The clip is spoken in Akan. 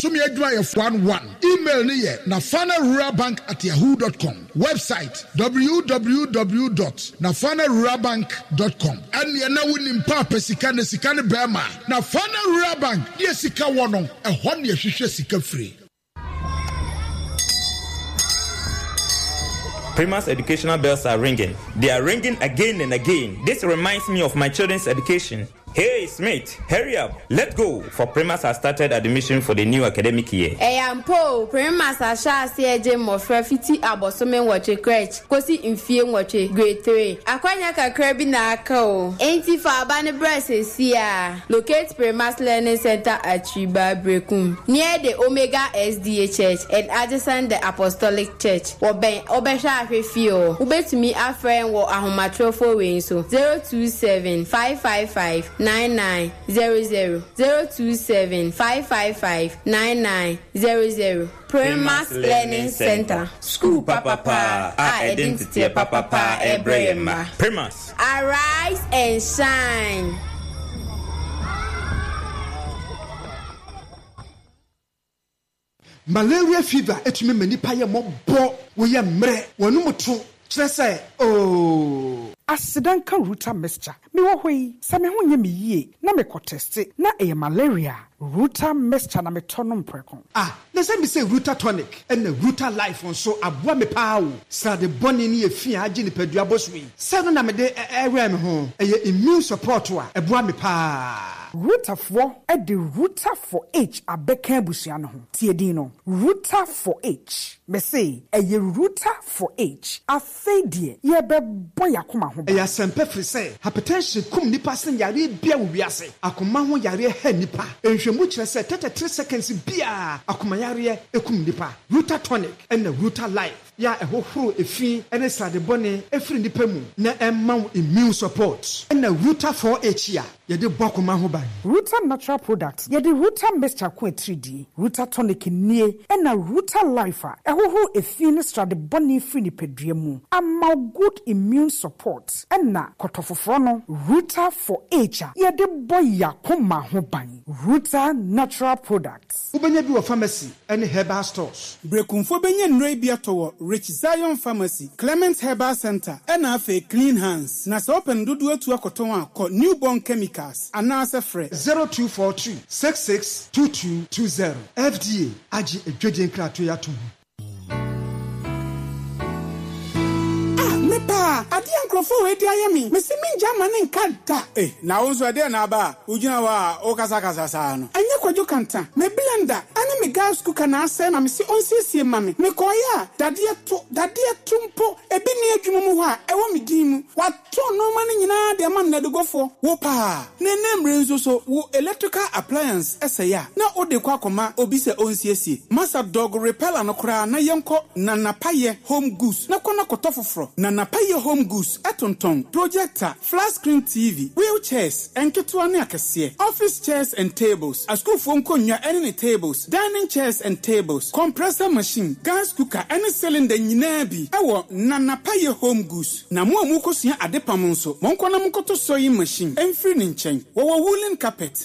Bosome adwuma yɛ 1 1. Email no yɛ nafanaruralbank at yahoo dot com. Website, www dot nafanaruralbank dot com. Ɛnneɛ na wonim paapa sika na sika ne bɛɛma. Nafana Rural Bank, deɛ sika wɔ no, ɛhɔ na yɛhwehwɛ sika firi. Primus educational bells are ringing. They are ringing again and again. This reminds me of my children's education. Hey, Smith, hurry up. Let's go. For Primus has started admission for the new academic year. Ɛyɛ ampa o, Primus ahyɛ aseɛ regye mmɔfra fiti abosome nwɔtwe, crèche, kosi mfie nwɔtwe, grade 3. Akwanya kakra bi na aka o. Enti fa aba no bra seesei ara. Locate Primus Learning Center at Triba, Berekum, near the Omega SDA Church and adjacent the Apostolic Church. Wɔbɛn Wobɛhwɛ Ahwɛ Fie hɔ. Wobɛtumi afrɛ yɛn wɔ ahomatorɔfoɔ wei nso, 027 555 9900, 027 555 9900. Primus Learning Center, Sukuu papapaa a ɛde nteteɛ papapaa rebrɛ yɛn mma. Primus. Arise and shine. Malaria fever tumi ma nipa yɛ mmɔbɔ, woyɛ mmerɛ, w'anum to, kyerɛ sɛ ooh. Aseda nka Ruta mixture. Mewɔ hɔ yi, sɛ me ho nyɛ me yie na mekɔ tɛste na ɛyɛ malaria a, Ruta mixture na metɔ nom prɛko. Ah, na sɛ mise Ruta tonic ɛna Ruta life nso aboa me paa o. Srade bɔne ne efi a agye nipadua bɔ so yi, sɛ ɛno na mede wɛn me ho. Ɛyɛ immune support a ɛboa me paa. Rutafoɔ de Ruta for H abɛka abusua no ho. Tie din no, Ruta for H. Mese ɛyɛ Ruta for H. Afei deɛ yɛrebɛbɔ yɛn akoma ho ban. Ɛyɛ asɛmpa firi sɛ hypertension kum nnipa sen yareɛ biara wɔ wiase. Akoma ho yareɛ ha nnipa. Nhwɛmu kyerɛ sɛ 33 seconds biara akoma yareɛ kum nnipa. Ruta Tonic ɛna Ruta Life yɛ a ɛhohoro efi ne srade bɔne firi nnipa mu na ɛma wo immune support. Ɛna Ruta 4H a yɛde bɔ akoma ho ban. Ruta Natural Products, Yɛde Ruta Mixture ko atiridie, Ruta Tonic nie, ɛna Ruta Life a ɛhohoro efi ne srade bɔne firi nipadua mu ama wo good immune support, ɛna kɔtɔ foforɔ no, Ruta for Age a yɛde bɔ y'akoma ho ban. Ruta Natural Products. Wobɛnya bi wɔ pharmacy ne herbal stores. Berekumfoɔ bɛnya nnuro yi bi atɔ wɔ Rich Zion Pharmacy, Clement Herbal Centre ɛna afei Clean Hands. Na sɛ wopɛ no dodoɔ atu akɔtɔn a, kɔ New Born Chemicals anaasɛ frɛ. 0242 66 2220. FDA agye adwadie nkratoɔ yi ato mu. Ah, me paa, adeɛ a nkurɔfoɔ wei de ayɛ me, mese mengya mma no nka da. Eh, na wo nso ɛdeɛn na aba a wogyina hɔ a wokasakasa saa no? Ɛnyɛ Kwadwo Kanta, me blender ɛne me gas cooker na asɛe na mese ɔnsiesie mma me. Mekɔeɛ a, dadeɛ to, dadeɛ to mpo, ebi nni adwuma mu hɔ a ɛwɔ me din mu. Watɔn nnoɔma no nyinaa de ama nnɛdegofoɔ. Wo paa, na ɛnnɛ mmere nso so wo electrical appliance sɛe a, na wode kɔ akɔma obi sɛ ɔnsiesie. Masa dog repeller no koraa na yɛnkɔ Nana Payɛ Home Goods na kɔ na kɔtɔ foforɔ. Nana Payɛ Home Goods tontɔn projector, flat screen TV, wheel chairs, nketewa ne akɛseɛ, office chairs and tables, asukuufoɔ nkonnwa ne ne tables, dining chairs and tables, compressor machine, gas cooker ne cylinder nyinaa bi wɔ Nana Payɛ Home Goods. Na mo a morekɔsua adepam nso, monkɔ na monkɔtɔ sewing machine mfiri ne nkyɛn. Wɔwɔ woolen carpet.